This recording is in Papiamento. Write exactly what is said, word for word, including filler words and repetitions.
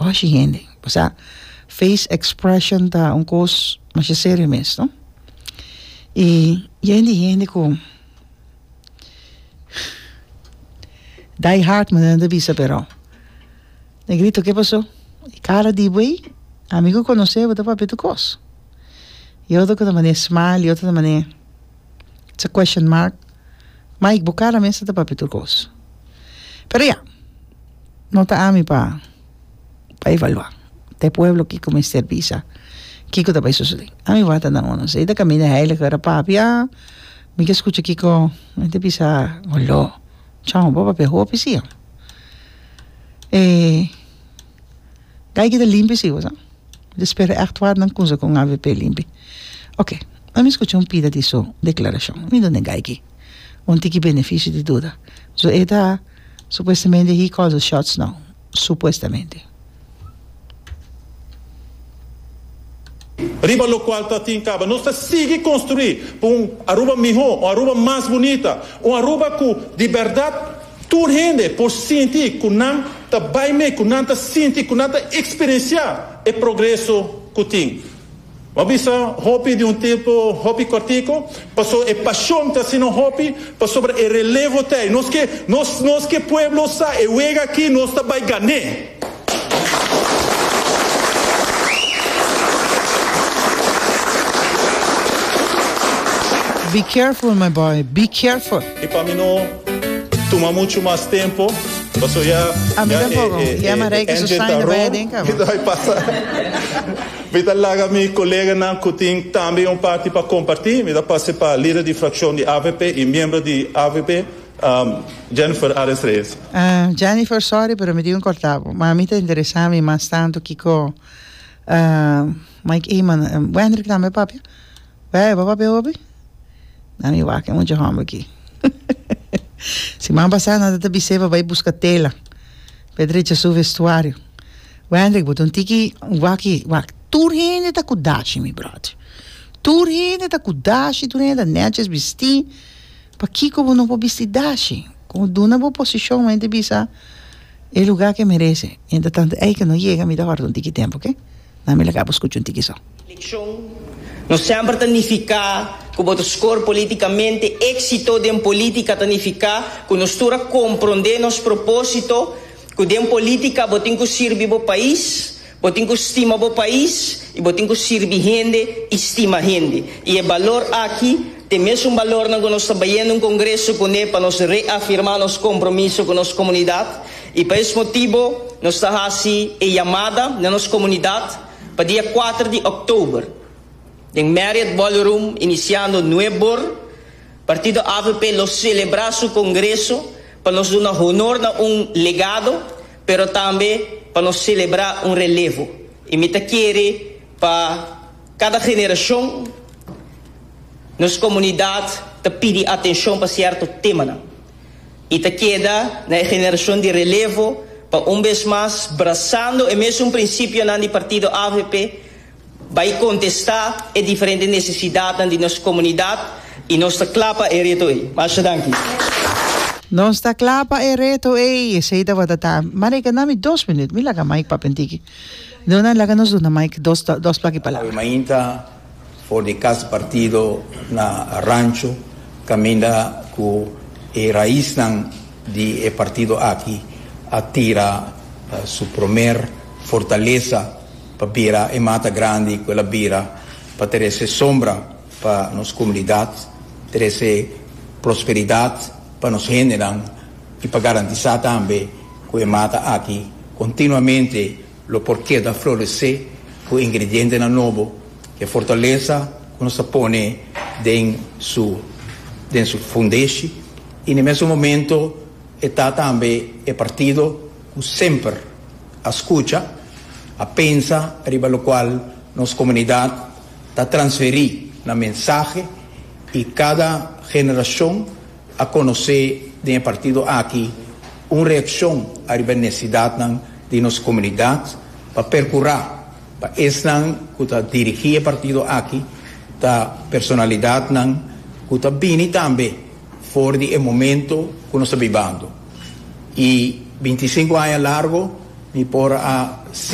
Boshi hende. Osea, face expression ta un kos masha serio mes, no? I yen di hende ku die hard manera nan ta bisa pero Negrito ke pasó? E kara di bo ei, ami ku konosé bo ta papia tur kos. E otro ku ta manera smile, e otro ta manera it's a question mark. Mike, bo kara mes ta papia tur kos. Pero ya, no ta ami pa pa evaluá. Ta e pueblo kiko mester bisa kiko ta bai sosodé. Ami wak ta nan uno. Si ta kaminda heiliger a papia, mi ke skucha kiko mi ta bisa, Holó, chon, bo papia hopi si. E gai ki ta limpi si, bo sa. Mi ta spera ègt wak nan kumsa ku un A V P limpi. Ok, ami skucha un pida di su deklarashon. Mi duna e gai ki un tiki benefisio di duda. So e ta supuestamente he calls the shots now. Supuestamente. Riba locual ta tin caba. Nos ta sigui construi pa un Aruba miho, un Aruba mas bunita, un Aruba cu di berdad tur hende por sinti cu nan ta bay mee, cu nan ta sinti, cu nan ta experiencia e progreso cu tin. Bo bisa hopi di un tempo hopi cortico, paso e pasion ta asina hopi, pasobra e relevo ta ey. Nos ke, nos, nos ke pueblo sa e wega aki nos ta bay gan'é. Be careful my boy, be careful. I pa mi no tuma muchu mas tempo, paso ya A mi ya e tampoco. e Ya e Marijke su engine ta sign ta bai rol, aden mi caba. ta bai pasa. Mi ta laga mi coleganan cu tin tambe un parti pa comparti. Mi ta pasa pa lider di fraccion di A V P y miembro di A V P, Jennifer Arends Reyes. Jennifer, sorry pero mi tin cu corta bo, ma mi ta interesa mi mas tanto kico Mike Eman, Wendrick tambe papia? Wè, bo papia hopi? Na mi wak e mucha homber aki. Siman pasa nan ta bis'é pa bai buska tela pa e drecha su vestuario. Wendrick, bo ta un tiki wak wak tur hende ta ku dashi, mi bròder. Tur hende ta ku dashi, tur hende ta nètjes bistí. Pakiko bo no por bisti dashi? Ku duna bo posishon, mi ta bisa e lugá ke merese. Entretantu ei ke no yega, mi ta wòrdu un tiki tempu, oke? Na mi laga bo skucha un tiki so. Elekshon no semper ta nifiká ku bo ta skor politikamente. Éksito den polítika ta nifiká ku nos tur a komprondé nos propósito, ku den polítika bo tin ku sirbi bo pais, bo tin ku stima bo pais i bo tin ku sirbi hende i stima hende. I e balor aki ta e mesun balornan ku nos ta bayendo un kongreso kuné pa nos reafirmá nos kompromiso ku nos komunidat. I pa es motibu nos ta hasi e yamada na nos komunidat pa dia kuater di òktober den Marriott Ballroom inisiando nuebe or, Partido A V P lo selebrá su kongreso pa nos duna honor na un legado, pero tambe pa nos selebrá un relevo. I mi ta kere pa kada generashon nos komunidat ta pidi atenshon pa sierto temanan. I ta keda na e generashon di relevo pa un bes mas, brasando e mesun prinsipionan di Partido A V P, bai kontestá e diferente nesesidatnan di nos komunidat i nos ta kla pa e reto ei. Masha danki. Nos ta kla pa e reto ei. Esei tabata ta. Marika, na mi dos minuut. Mi laga Mike papia un tiki. Duna, laga nos duna Mike dos, dos plaki Awe palabra. Mainta for di Cas Partido na Rancho, caminda cu e raisnan di e partido aki a tira su promer fortaleza pa bira e mata grandi cu el a bira pa trece sombra pa nos comunidad, trece prosperidad pa nos hendenan y pa garantisa tambe cu e mata aki continuamente lo por keda florece cu ingredientenan nobo. E fortaleza cu nos ta pone den su den su fundeshi y na mesun momento e ta tambe e partido cu semper a scucha, a pensa riba locual nos comunidad ta transferi na mensahe y cada generacion a conoce den e partido aki un reaccion ariba necesidadnan di nos comunidad pa percura pa esnan cu ta dirigi e partido aki ta personalidadnan cu ta bini tambe for di e momento cu nos ta bibando. Y binticinco aña largo mi por a